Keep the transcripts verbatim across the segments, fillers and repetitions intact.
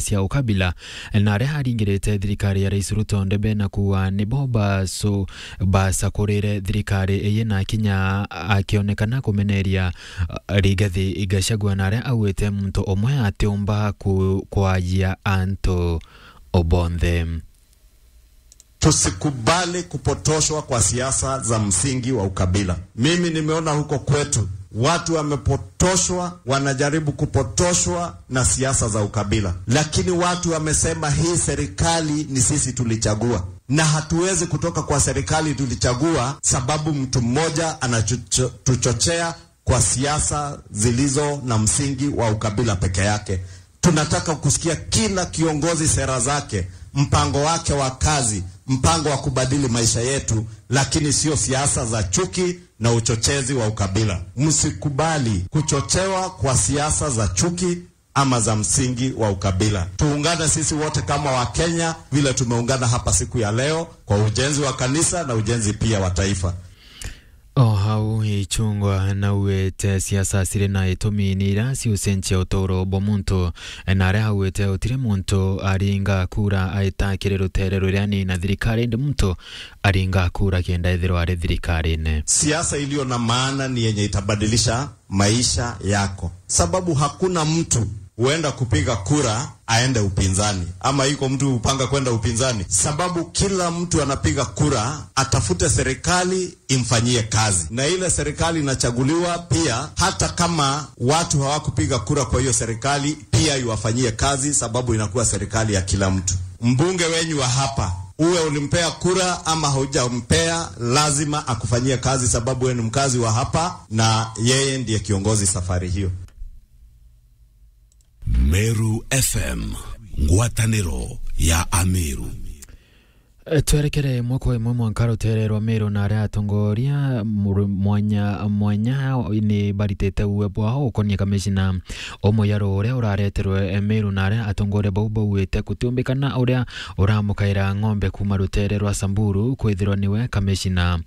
cia ukabila, na aria aringirite thirikari ya Rais Ruto ndebe na kuuga nibo bacu-, bacakurire thirikari iyi na kinya akionekana kumeneria, uh, Rigathi Gachagua, na aria augite muntu umwe atiumba ku-, kwajia antu bonthe. Tusikubali kupotoshwa kwa siasa za msingi wa ukabila. Mimi nimeona huko kwetu watu wamepotoshwa, wanajaribu kupotoshwa na siasa za ukabila. Lakini watu wamesema hii serikali ni sisi tulichagua. Na hatuwezi kutoka kwa serikali tulichagua sababu mtu mmoja anatuchochea kwa siasa zilizo na msingi wa ukabila peke yake. Tunataka kusikia kila kiongozi, sera zake, mpango wake wa kazi, mpango wa kubadili maisha yetu, lakini sio siasa za chuki na uchochezi wa ukabila. Msikubali kuchochewa kwa siasa za chuki ama za msingi wa ukabila. Tuungane sisi wote kama Wakenya vile tumeungana hapa siku ya leo kwa ujenzi wa kanisa na ujenzi pia wa taifa. O hau Ichung'wa naugite siasa ciri na itumi ni iria ciucenjia uturo bwa muntu, na aria augite utiri muntu aringa kura aita kiri rutere ruria ni na thirikari, indi muntu aringa kura kenda ethirwa ari thirikarine. Siasa iliyo na maana ni yenye itabadilisha maisha yako, sababu hakuna mtu huenda kupiga kura aende upinzani, ama iko mtu hupanga kwenda upinzani, sababu kila mtu anapiga kura atafute serikali imfanyie kazi, na ile serikali inachaguliwa pia, hata kama watu hawakupiga kura kwa hiyo serikali, pia iwafanyie kazi, sababu inakuwa serikali ya kila mtu. Mbunge wenyu wa hapa, uwe ulimpea kura ama haujampea, lazima akufanyie kazi, sababu wewe ni mkazi wa hapa na yeye ndiye kiongozi safari hiyo. Meru F M, ngwataniro ya Ameru. E, twerekere mwako imwe mwanka rutere rwa Meru, na aria atongoria muru-, mwanya mwanya ni baritite uwe bwao ukonia kamishina umwe ya ruo uria urareterwe, e, Meru, na aria atongoria bau bauite kutiumbikana uria uramukaira ng'ombe kuma rutere rwa Samburu kwithirwa niwe kamishina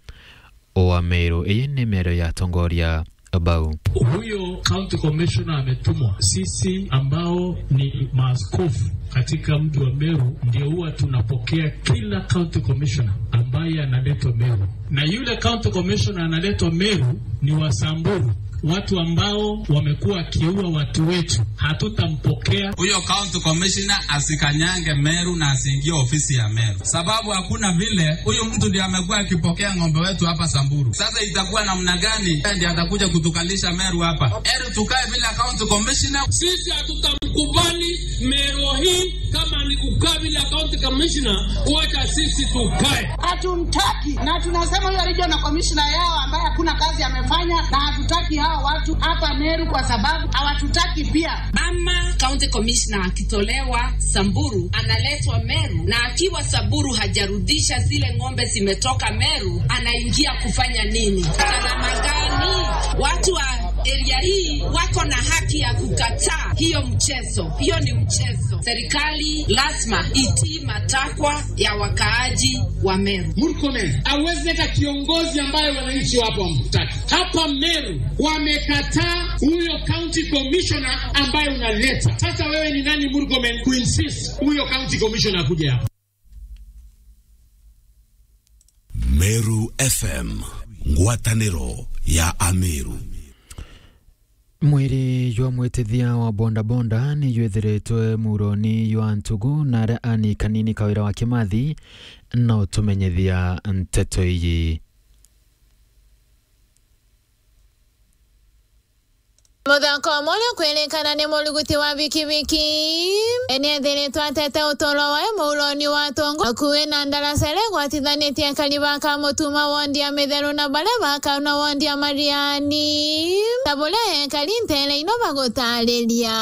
wa Meru. Iyi ni miario ya atongoria bau. Huyo county commissioner ametumwa. Sisi ambao ni maaskofu katika mji wa Meru ndio huwa tunapokea kila county commissioner ambaye analetwa Meru. Na yule county commissioner analetwa Meru ni wa Samburu. Watu ambao wamekuwa wakiua watu wetu, hatutampokea. Huyo county commissioner asikanyange Meru na asiingie ofisi ya Meru. Sababu hakuna vile huyu mtu ndiye amekuwa akipokea ng'ombe wetu hapa Samburu. Sasa itakuwa namna gani yeye ndiye atakuja kutukalisha Meru hapa? Heri tukae bila county commissioner. Sisi hatutamkubali Meru hii kama ni kukaa bila county commissioner, wacha sisi tukae. Hatumtaki, na tunasema huyo regional commissioner yao ambaye hakuna kazi amefanya, na hatutaki hao watu hapa Meru kwa sababu hawatutaki pia. Ama county commissioner akitolewa Samburu, analetwa Meru, na akiwa Samburu hajarudisha zile ng'ombe zimetoka Meru, anaingia kufanya nini? Salama gani? Watu wa area hii wako na haki ya kukataa hiyo mchezo. Hiyo ni mchezo. Serikali lazima itii matakwa ya wakaaji wa Meru. Murkomen hawezi leta kiongozi ambaye wananchi wapo wamtaki. Hapa Meru wamekataa huyo county commissioner ambaye unaleta. Sasa wewe ni nani, Murkomen, kuinsist huyo county commissioner akuje hapa? Meru F M, ngwataniro ya Ameru. Mwiri jwa mwitithia wa bodaboda ni jwithiritwe muroni jwa ntugu, na aria ani kanini kawira wa Kimathi no tumenyithia nteto iji. Muthako umwe uria ukwirikana ni muruguti wa bikibiki ni ethiritwe atete uturo wae muuroni wa atongo, akui na ndarasere gwatithanitie akari ba Kamutuma wondi ya Mitheru na baria ba Kauna wondi ya Mariani, ta buria ekari ntere ino bagutariria.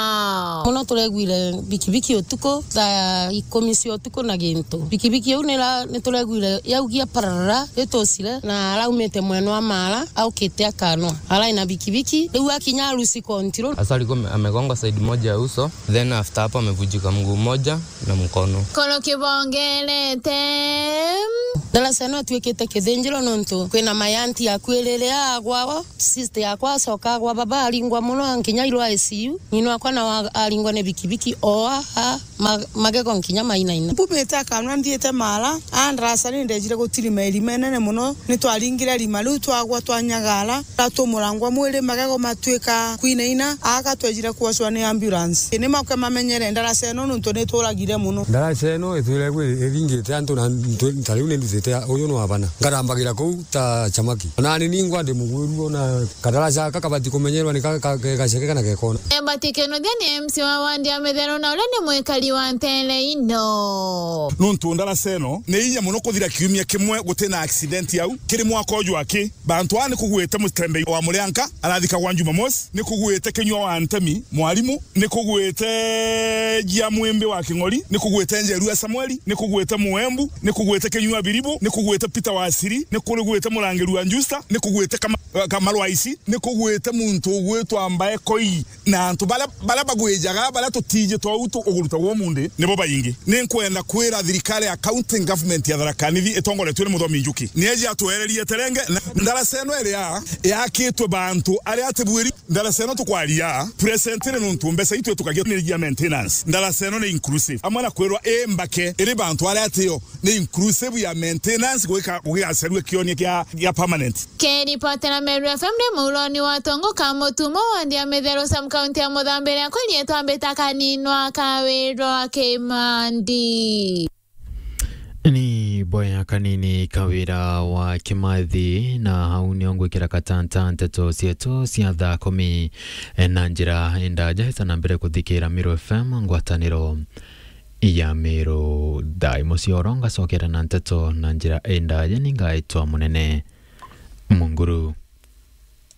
Muno turegwire bikibiki utuku thaa ikumi cia utuku na gintu. Bikibiki iu nira-, nituregwire yaugia pararara ritucire na araumite mwena wa Mara aukite akanwa. Arai na bikibiki, riu akinya Arusi Control. Hasa alikuwa ame-, amegongwa side moja ya uso, then after hapo amevunjika mguu moja na mkono. Koro kibongerete. Ndarasa ino itwikite kithinjiro nontu kwina my aunty akuirire agwa o, sister yakwa acoka agwa baba aringwa mono nkinya airwa I C U, ng'ina wakwa nawe aringwa ni bikibiki o a, a, ma-, magego nkinya mainaina. Mbumite akanwa nthiite mara, a ndarasa ni ndejire gutirima irima inene mono, ni twaringire irima riu twagwa twanyagara, twatumurangwa mwiri magego matwika kwinaina, aka twejire kuocwa ni ambulance. Ni makwe mamenyere ndarasa ino nontu ni turagire mono. Ndarasa ino itwire gwi iringite antu na ntu-, nta riu ni ndutite uyu ni wabana. Ngarambagira kuu ta chamaki. Ona ni ningwa ndi mugwiru ona kadaraca aka kabati kumenyerwa ni ka-, ka-, ke-, gaceke kana gekona. Mbati Kinuthia ni M C wa wandi ya Mithero na uria ni mwikari wa ntere ino. Nontu ndarasa ino ni inya mono kuthira kiumia kimwe gutina accident au. Kiri mwaka uju aki, bantu aa ni kugwite mutembei wa murianka arathikagwa Jumamosi, ni kugwite kinyua wa ntemi mwarimu, ni kugwite jia mwimbi wa king'ori, ni kugwite njeru ya Samueli, ni kugwite muembu, ni kugwite kinyua biribu, ni kugwite Peter Wasiri, ni kugwite murangiri wa Njusta, ni kugwite Kama-, Kamarwaisi, ni kugwite muntu ugwitwa Mbae Koi. Na antu baria, baria bagwijaga, baria tutiji twau tu-, ugurutagwa umundi, nibo baingi. Ni nkwenda kwira thirikari ya county government ya Tharaka Nithi itongoretue ni Muthomi Njuki, ni eji atwererie terenge na ndarasa ino iria yakitwe bantu aria atibwiri. Ndarasa ino tukwaria presently nontu mbeca itu itukagia ni ya maintenance. Ndarasa ino ni inclusive. Amwe na kwirwa i mbake iri bantu aria atio ni inclusive ya maintenance gwika, gugigacerua kionia kia, kia permanent. Kiripotera Meru F M ni Muuroni wa Tongo ka Mutumo wa nthi ya Mithero sub county ya Muthambiria kuri etwa Mbita Kaninwa Kawirwa Kimandi. Ni boya kanini Kawira wa Kimathi, na hau nio ngwikira katanta nteto cietu cia thaa kumi na njira indaja. Ita na mbere kuthikira Meru F M ngwataniro ya Meru. Thaa imwe cia oro ngacokera na nteto na njira indaja, ni ngaitwa Munene Munguru.